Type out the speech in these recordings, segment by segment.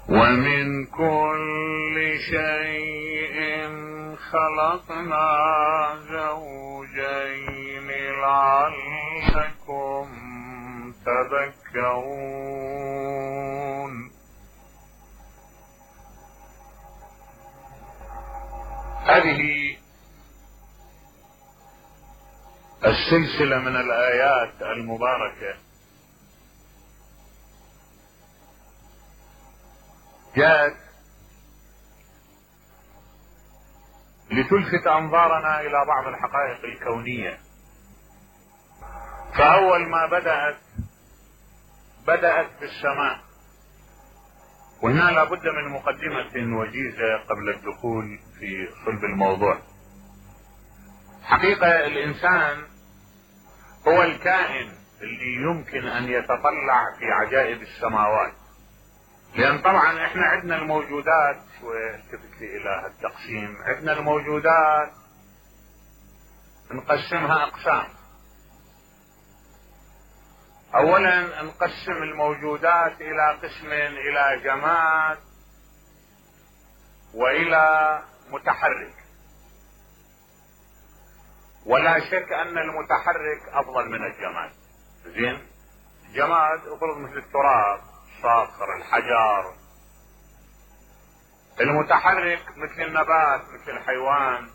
ومن كل شيء خلقنا زوجين لعلكم تذكرون. هذه السلسلة من الآيات المباركة جاءت لتلفت أنظارنا إلى بعض الحقائق الكونية. فأول ما بدأت بالسماء، وهنا لابد من مقدمة وجيزة قبل الدخول في صلب الموضوع. حقيقة الإنسان هو الكائن اللي يمكن أن يتطلع في عجائب السماوات، لأن طبعا احنا عندنا الموجودات، والتفت لي إلى التقسيم، عندنا الموجودات نقسمها أقسام. أولا نقسم الموجودات إلى قسمين، إلى جماد وإلى متحرك. ولا شك أن المتحرك أفضل من الجماد. زين، الجماد افرض مثل التراب، الصخر، الحجر. المتحرك مثل النبات، مثل الحيوان.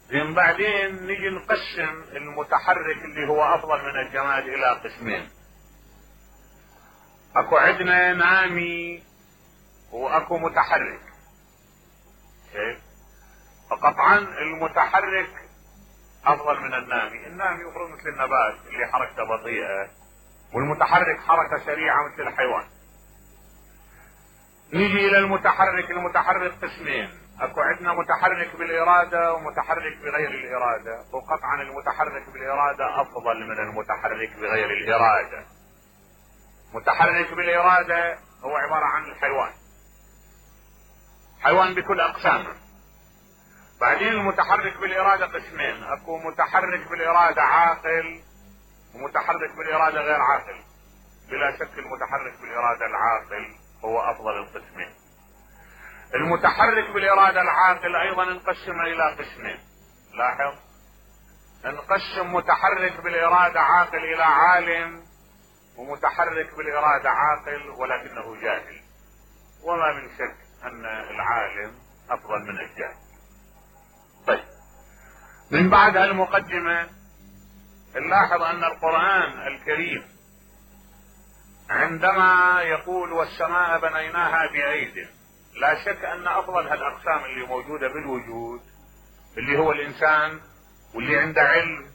زين، بعدين نجي نقسم المتحرك اللي هو افضل من الجماد الى قسمين. اكو عندنا نامي واكو متحرك. فقطعا المتحرك افضل من النامي. النامي يفرض مثل النبات اللي حركته بطيئة، والمتحرك حركة سريعة مثل الحيوان. نيجي الى المتحرك. المتحرك قسمين، اكو عندنا متحرك بالارادة ومتحرك بغير الارادة، وقطعا المتحرك بالارادة افضل من المتحرك بغير الارادة. متحرك بالارادة هو عبارة عن الحيوان، حيوان بكل اقسامه. بعدين المتحرك بالارادة قسمين، اكو متحرك بالارادة عاقل ومتحرك بالارادة غير عاقل. بلا شك المتحرك بالارادة العاقل هو افضل القسمين. المتحرك بالارادة العاقل ايضا نقسم الى قسمين. لاحظ، نقسم متحرك بالارادة عاقل الى عالم، ومتحرك بالارادة عاقل ولكنه جاهل. وما من شك ان العالم افضل من الجاهل. طيب، من بعد هالمقدمة نلاحظ ان القرآن الكريم عندما يقول والسماء بنيناها بأيد، لا شك ان افضل هالاقسام اللي موجودة بالوجود اللي هو الانسان واللي عنده علم،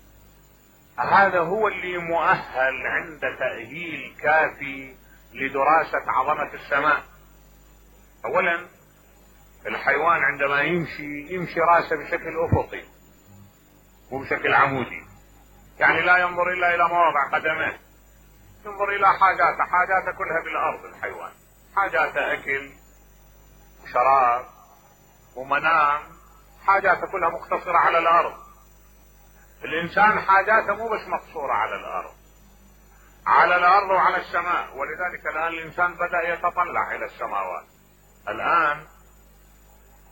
هذا هو اللي مؤهل عند تأهيل كافي لدراسة عظمة السماء. اولا الحيوان عندما يمشي راسه بشكل افقي وبشكل عمودي، يعني لا ينظر الا الى مواضع قدمه، ينظر الى حاجاته كلها بالارض. الحيوان حاجاته اكل وشراب ومنام، حاجاته كلها مقتصرة على الارض. الانسان حاجاته مو بس مقصورة على الارض، على الارض وعلى السماء. ولذلك الان الانسان بدأ يتطلع الى السماوات. الان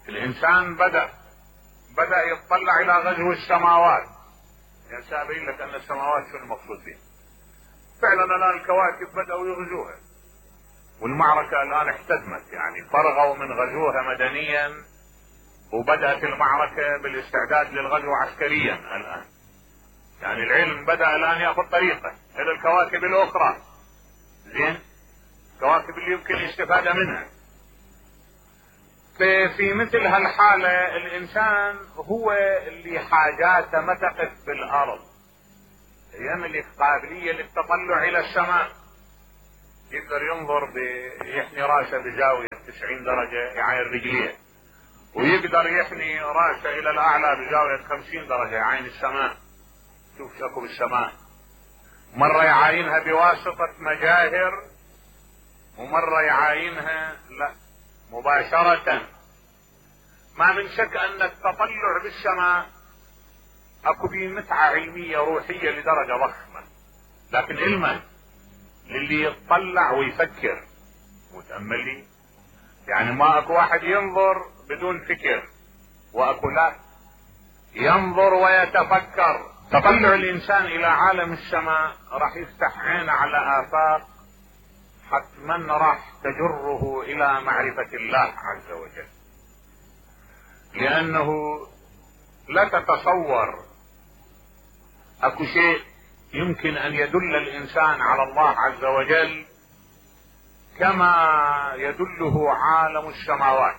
الانسان بدأ يتطلع الى غزو السماوات. يعني سأبين لك ان السماوات شو المقصود فيه. فعلا الان الكواكب بدأوا يغزوها، والمعركة الان احتدمت، يعني فرغوا من غزوها مدنيا، وبدأت المعركة بالاستعداد للغزو عسكريا الان. يعني العلم بدأ الان ياخذ طريقه الى الكواكب الاخرى. زين، الكواكب اللي يمكن الاستفادة منها. في مثل هالحالة الانسان هو اللي حاجاته ما تقف بالارض، يملك قابلية للتطلع الى السماء. يقدر ينظر يحني راسه بزاوية 90 درجة يعاين رجليه، ويقدر يحني راسه الى الاعلى بزاوية 50 درجة يعاين السماء. شوف شكو بالسماء. مرة يعاينها بواسطة مجاهر، ومرة يعاينها لا مباشرة. ما من شك ان التطلع بالسماء اكو به متعة علمية روحية لدرجة ضخمة، لكن علما للي يتطلع ويفكر. تأملي، يعني ما اكو واحد ينظر بدون فكر، واكو لا ينظر ويتفكر. تطلع الانسان الى عالم السماء راح يفتح عينه على آفاق حتما راح تجره الى معرفة الله عز وجل، لانه لا تتصور اكو شيء يمكن ان يدل الانسان على الله عز وجل كما يدله عالم السماوات.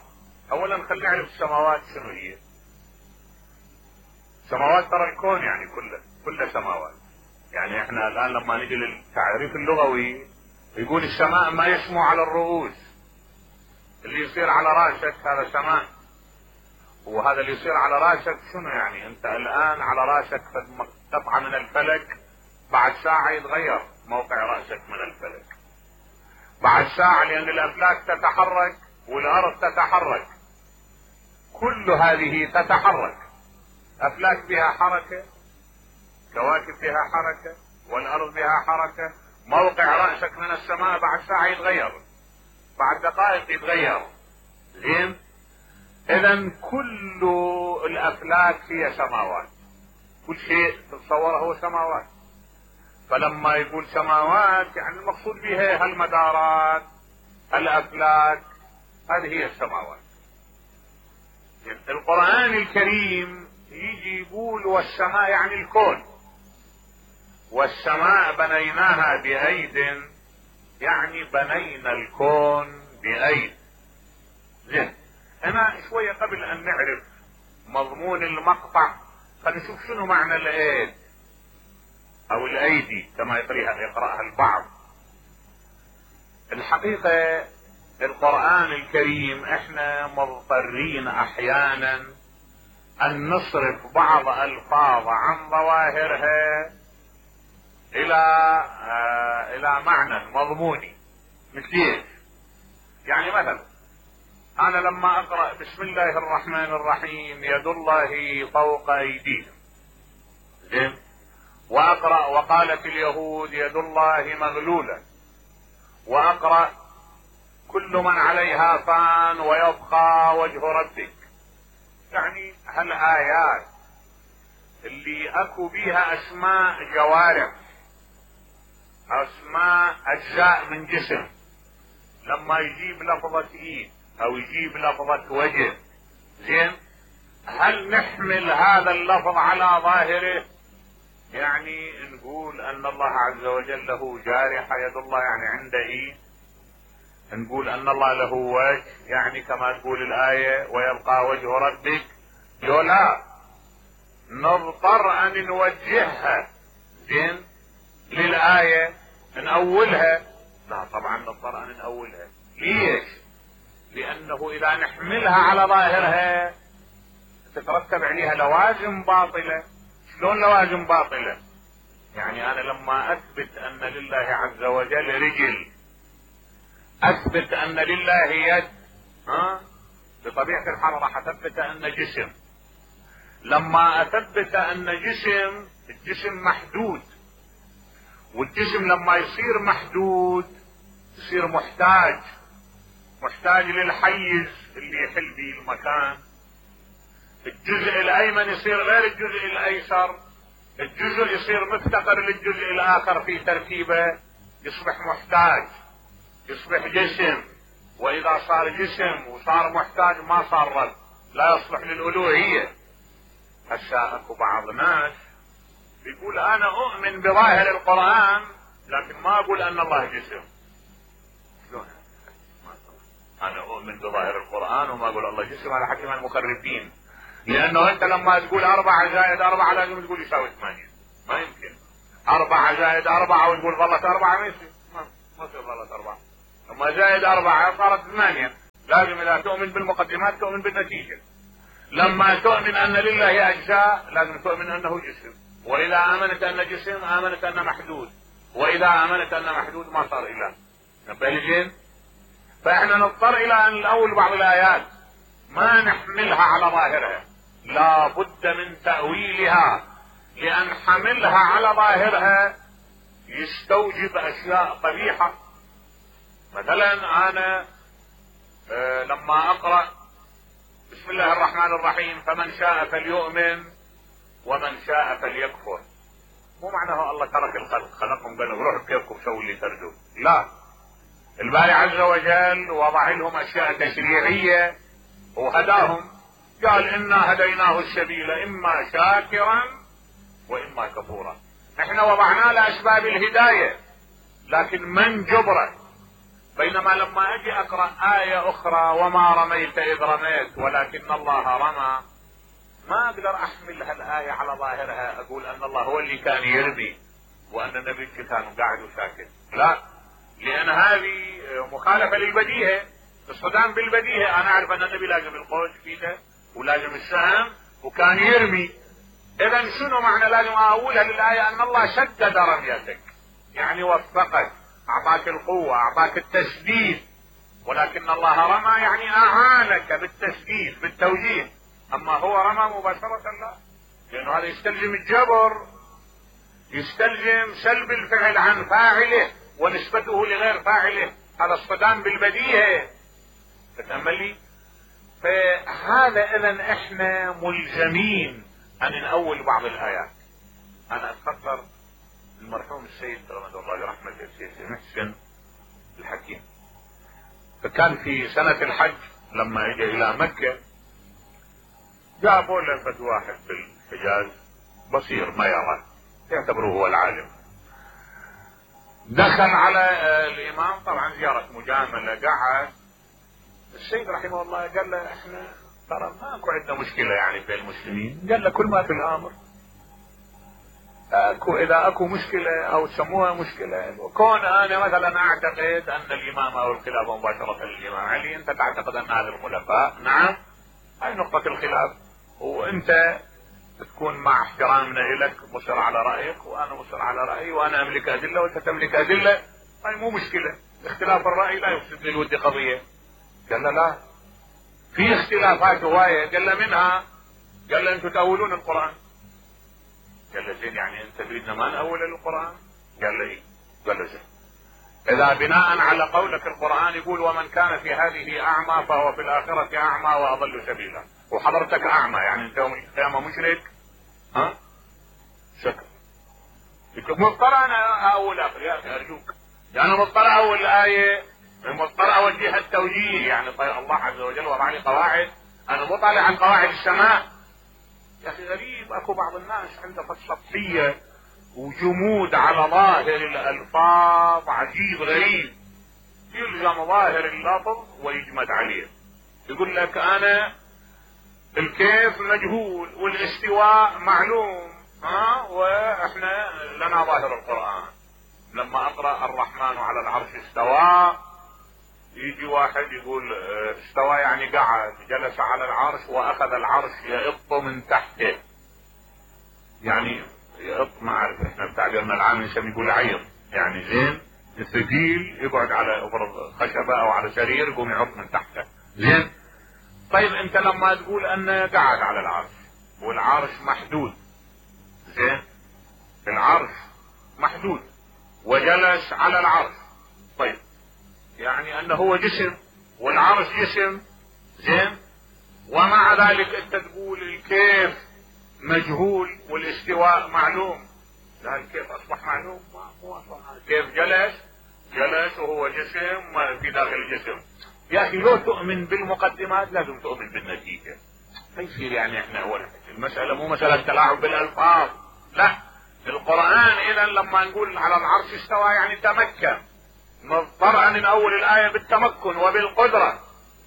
اولا خلينا نعرف السماوات شنو هي. السماوات ترى الكون يعني كله سماوات. يعني احنا الان لما نجي للتعريف اللغوي يقول السماء ما يسمو على الرؤوس، اللي يصير على راسك هذا سماء، وهذا اللي يصير على راسك شنو يعني؟ انت الان على راسك قطعة من الفلك، بعد ساعة يتغير موقع رأسك من الفلك، بعد ساعة، لان الافلاك تتحرك والارض تتحرك، كل هذه تتحرك، افلاك بها حركة، كواكب بها حركة، والارض بها حركة، موقع رأسك من السماء بعد ساعة يتغير، بعد دقائق يتغير. زين؟ اذا كل الافلاك هي سماوات، كل شيء تتصوره هو سماوات. فلما يقول سماوات يعني المقصود بها هالمدارات، الافلاك، هذه هي السماوات. القرآن الكريم يجي يقول والسماء يعني الكون، والسماء بنيناها بأيد، يعني بنينا الكون بأيد. زين، هنا شوية قبل ان نعرف مضمون المقطع خلينا نشوف شنو معنى الايد او الايدي كما يقرأها البعض. الحقيقة القرآن الكريم احنا مضطرين احيانا ان نصرف بعض الفاظ عن ظواهرها الى معنى مضموني. مثل ايش؟ يعني مثلا انا لما اقرأ بسم الله الرحمن الرحيم يد الله فوق ايديهم، زين، واقرأ وقالت اليهود يد الله مغلولة، واقرأ كل من عليها فان ويبقى وجه ربك، يعني هالآيات اللي اكو بيها اسماء جوارح، اسماء اجزاء من جسم، لما يجيب لفظة ايد او يجيب لفظة وجه، زين، هل نحمل هذا اللفظ على ظاهره؟ يعني نقول ان الله عز وجل له جارحة يد الله يعني عنده ايد، نقول ان الله له وجه يعني كما تقول الآية ويبقى وجه ربك، لا، نضطر ان نوجهها، زين، للآية نأولها، لا طبعا نضطر ان نأولها. ليش؟ لانه اذا نحملها على ظاهرها تترتب عليها لوازم باطلة. شلون لوازم باطلة؟ يعني انا لما اثبت ان لله عز وجل رجل، اثبت ان لله يد، بطبيعة الحال راح اثبت ان جسم. لما اثبت ان الجسم محدود، والجسم لما يصير محدود يصير محتاج للحيز اللي يحل به المكان. الجزء الايمن يصير غير الجزء الايسر، الجزء يصير مفتقر للجزء الاخر في تركيبه، يصبح محتاج، يصبح جسم. واذا صار جسم وصار محتاج ما صار رب، لا يصلح للالوهية. هسه اكو بعض ناس بيقول انا اؤمن بظاهر القرآن لكن ما اقول ان الله جسم. شلون؟ انا اؤمن بظاهر القرآن وما اقول الله جسم، على حكم المخرفين. لانه انت لما تقول 4 زائد 4 لازم تقول يساوي 8، ما يمكن 4 زائد 4 وتقول ظلت 4، ما يصير، ما يصير ظلت 4. لما زائد 4 صارت 8، لازم اذا تؤمن بالمقدمات تؤمن بالنتيجة. لما تؤمن ان لله اجزاء لازم تؤمن انه جسم، واذا امنت ان جسم امنت ان محدود، واذا امنت ان محدود ما صار اله. نبالجين؟ فاحنا نضطر الى ان نأول بعض الايات ما نحملها على ظاهرها، لا بد من تأويلها، لان حملها على ظاهرها يستوجب اشياء قبيحة مثلا انا لما اقرأ بسم الله الرحمن الرحيم فمن شاء فليؤمن ومن شاء فليكفر، مو معناه الله ترك الخلق، خلقهم قالوا روحوا بكيفكم سووا اللي تردوا، لا، الباري عز وجل وضع لهم اشياء تشريعية وهداهم، قال انا هديناه السبيل اما شاكرا واما كفورا. احنا وضعنا له اسباب الهداية لكن من جبره. بينما لما اجي اقرأ آية اخرى وما رميت اذ رميت ولكن الله رمى، ما اقدر احمل هالآية على ظاهرها اقول ان الله هو اللي كان يرمي وان النبي كان قاعد وساكت، لا، لان هذه مخالفة للبديهة، الصدام بالبديهة. انا اعرف ان النبي لازم القوس فيها ولازم السهم وكان يرمي، اذا شنو معنى لازم اقولها للآية ان الله شدد رميتك، يعني وفقك، اعطاك القوة، اعطاك التسديد، ولكن الله رمى يعني اعانك بالتسديد بالتوجيه، اما هو رمى مباشرة لا، لانه هذا يستلزم الجبر، يستلزم سلب الفعل عن فاعله ونسبته لغير فاعله، هذا الصدام بالبديهة. تتأملي؟ فهذا اذا احنا ملزمين ان نأول بعض الايات. انا اتخطر المرحوم السيد رحمه الله رحمة السيد محسن الحكيم، فكان في سنة الحج لما اجى الى مكة جابوا له فد واحد في الحجاز بصير ما يرى، يعتبره هو العالم، دخل على الامام طبعا زيارة مجاملة، قعد السيد رحمه الله قال له احنا ترى ماكو عندنا مشكلة يعني في المسلمين، قال له كل ما في الامر اكو، اذا اكو مشكلة او تسموها مشكلة، وكون انا مثلا اعتقد ان الامام او الخلافة مباشرة للامام علي، انت تعتقد ان هذا الخلفاء، نعم، هاي نقطة الخلاف، وانت تكون مع احترامنا لك مصر على رأيك وانا مصر على رأيي وانا املك ادلة وانت تملك ادلة، هاي مو مشكلة، اختلاف الرأي لا يفسد للود قضية. قال له لا، في اختلافات هواية، قال له منها، قال له انتم تأولون القرآن، قال له زين يعني انت تريدنا ما نأول القرآن؟ قال له ايه؟ قال له زين، اذا بناء على قولك القرآن يقول ومن كان في هذه اعمى فهو في الاخرة اعمى واضل سبيلا، وحضرتك اعمى يعني انت يوم القيامة مشرك، ها؟ شكرا. مضطر انا اول اخر يا اخي ارجوك، يعني مضطر اول الاية، مضطر اوجهها التوجيه، يعني طيب الله عز وجل وضع لي قواعد، انا مو طالع عن قواعد السماء. يا اخي غريب، اكو بعض الناس عنده سطحية وجمود على ظاهر الالفاظ عجيب غريب، يلزم ظاهر اللفظ ويجمد عليه، يقول لك انا الكيف مجهول والاستواء معلوم، ها، واحنا لنا ظاهر القرآن، لما اقرأ الرحمن على العرش استوى، يجي واحد يقول استوى يعني قعد، جلس على العرش واخذ العرش يئط من تحته، يعني يئط، ما اعرف احنا بتعبيرنا العام نسميه يقول عيط، يعني زين الثقيل يقعد على افرض خشبة او على سرير يقوم يعط من تحته، زين. طيب انت لما تقول انه قعد على العرش والعرش محدود، زين، العرش محدود وجلس على العرش، طيب يعني انه هو جسم والعرش جسم، زين، ومع ذلك انت تقول الكيف مجهول والاستواء معلوم، لا الكيف اصبح معلوم، مو اصبح كيف جلس وهو جسم في داخل الجسم. يا اخي لو تؤمن بالمقدمات لازم تؤمن بالنتيجة، ما يصير يعني احنا هو المسألة مو مسألة تلاعب بالالفاظ، لا، القرآن اذا لما نقول على العرش استوى يعني تمكن، مضطر ان اول الاية بالتمكن وبالقدرة،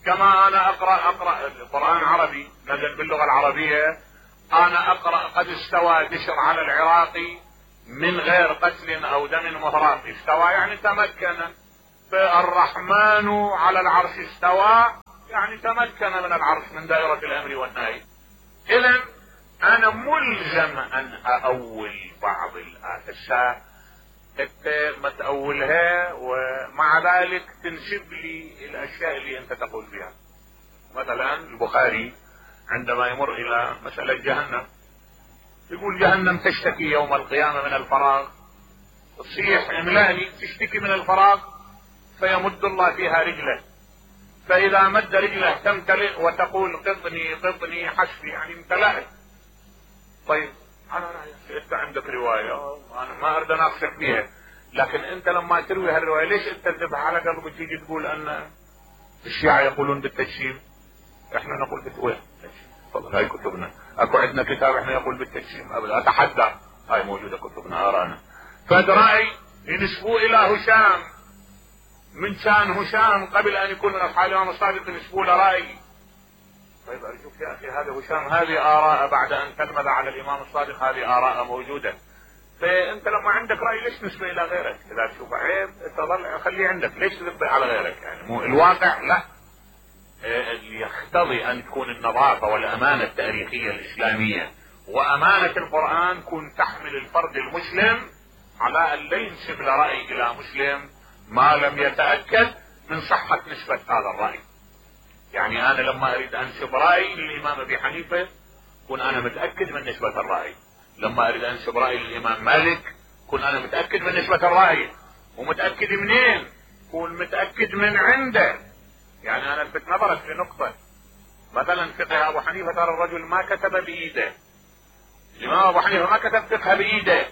كما انا اقرأ القرآن عربي نزل باللغة العربية، انا اقرأ قد استوى بشر على العراقي من غير قتل او دم مهراق، استوى يعني تمكن، فالرحمن على العرش استوى يعني تمكن من العرش من دائرة الامر والنهي. اذا انا ملزم ان اأول بعض الآيات، انت ما تأولها ومع ذلك تنسب لي الاشياء اللي انت تقول فيها. مثلا البخاري عندما يمر الى مسألة جهنم يقول جهنم تشتكي يوم القيامة من الفراغ، تصيح املأني، تشتكي من الفراغ، فيمد الله فيها رجله، فاذا مد رجله تمتلئ وتقول قطني قطني حسبي، يعني امتلأت. طيب على رأيك انت عندك رواية انا ما اريد اناقشك بيها، لكن انت لما تروي هالرواية ليش انت تذبح على قلبك تيجي تقول ان الشيعة يقولون بالتجسيم، احنا نقول بالتجسيم؟ تفضل هاي كتبنا، اكو عندنا كتاب احنا يقول بالتجسيم، ابدا اتحدى، هاي موجودة كتبنا ارانا. فهذا رأي ينسبوه الى هشام، من كان هشام قبل ان يكون من اصحاب الامام الصادق ينسبوه لرأي. طيب ارجوك يا اخي هذا هشام، هذه اراء بعد ان تلمذ على الامام الصادق، هذه اراء موجودة. فانت لما عندك رأي ليش نسبة الى غيرك؟ اذا تشوف عيب تظل خليه عندك، ليش تنبه على غيرك؟ يعني مو الواقع لا، اللي يقتضي ان تكون النظافة والامانة التاريخية الاسلامية وامانة القرآن تكون تحمل الفرد المسلم على ان لا ينسب لرأي الى مسلم ما لم يتأكد من صحة نسبة هذا الرأي. يعني انا لما اريد انسب رأي للامام ابي حنيفة كن انا متأكد من نسبة الرأي، لما اريد انسب رأي للامام مالك كن انا متأكد من نسبة الرأي. ومتأكد منين؟ كن متأكد من عنده. يعني انا الفت نظرك في نقطة، مثلا فقه ابو حنيفة ترى الرجل ما كتب بايده، الامام ابو حنيفة ما كتب فقه بايده،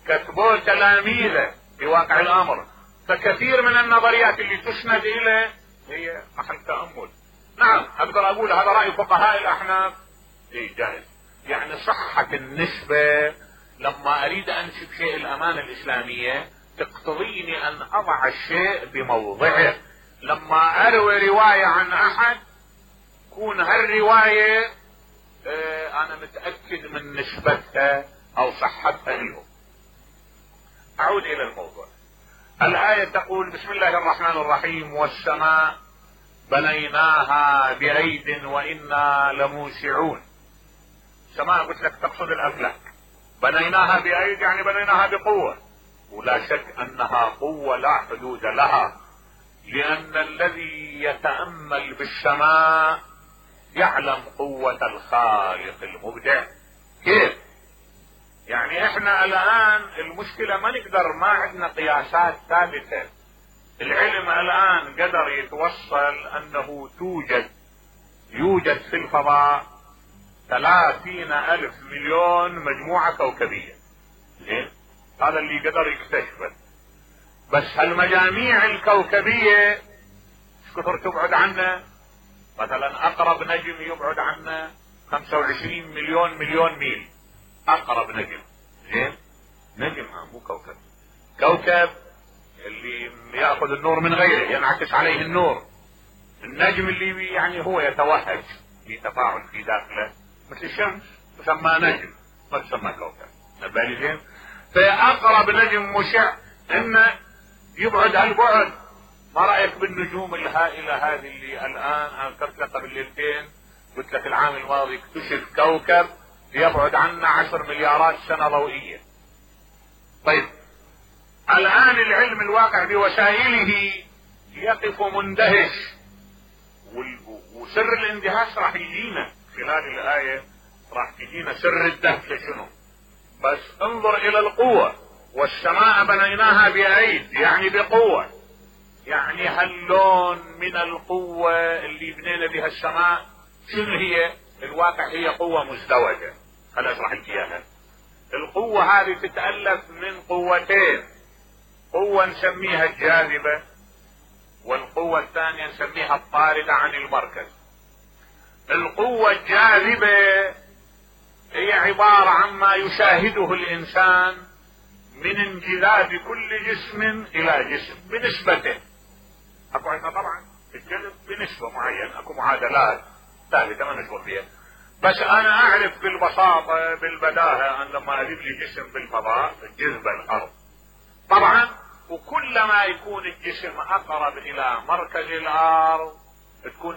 كتبوه تلاميذه في واقع الامر. فكثير من النظريات اللي تسند اليه هي محل تأمل. نعم اقدر اقول هذا رأي فقهاء الاحناف، اي جائز. يعني صحة النسبة لما اريد انسب شيء الامانة الاسلامية تقتضيني ان اضع الشيء بموضعه. لما اروي رواية عن احد كون هالرواية انا متأكد من نسبتها او صحتها له. اعود الى الموضوع. الآية تقول بسم الله الرحمن الرحيم والسماء بنيناها بأيد وإنا لموسعون. السماء قلت لك تقصد الأفلاك، بنيناها بأيد يعني بنيناها بقوة، ولا شك أنها قوة لا حدود لها، لأن الذي يتأمل بالسماء يعلم قوة الخالق المبدع. كيف؟ يعني احنا الان المشكلة ما نقدر، ما عندنا قياسات ثابتة. العلم الان قدر يتوصل انه يوجد في الفضاء 30,000 مليون مجموعة كوكبية. زين؟ هذا اللي قدر يكتشفه. بس هالمجاميع الكوكبية ايش كثر تبعد عنا؟ مثلا اقرب نجم يبعد عنا 25 مليون ميل، اقرب نجم. زين؟ نجم مو كوكب. كوكب اللي ياخذ النور من غيره، ينعكس عليه النور. النجم اللي يعني هو يتوهج في تفاعل في داخله مثل الشمس تسمى نجم، ما تسمى كوكب. نبالي زين؟ فاقرب نجم مشع انه يبعد هالبعد. ما رايك بالنجوم الهائله هذه اللي الان انا ذكرت لك قبل ليلتين، قلت لك العام الماضي اكتشف كوكب يبعد عنا 10 مليارات سنة ضوئية. طيب الآن العلم الواقع بوسائله يقف مندهش، وسر الاندهاش راح يجينا خلال الآية، راح تجينا سر الدهشة شنو. بس انظر إلى القوة. والسماء بنيناها بأيد يعني بقوة، يعني هاللون من القوة اللي بنينا بها السماء شنو هي؟ الواقع هي قوة مزدوجة. خليني اشرح لك اياها. القوة هذه تتألف من قوتين، قوة نسميها الجاذبة، والقوة الثانية نسميها الطاردة عن المركز. القوة الجاذبة هي عبارة عما يشاهده الانسان من انجذاب كل جسم الى جسم بنسبته. اكو عندنا طبعا في الجذب بنسبة معينة، اكو معادلات ثابتة ما نشغل فيها. بس انا اعرف بالبساطة بالبداهة ان لما اجيب لي جسم بالفضاء الجذب الارض طبعا، وكلما يكون الجسم اقرب الى مركز الارض تكون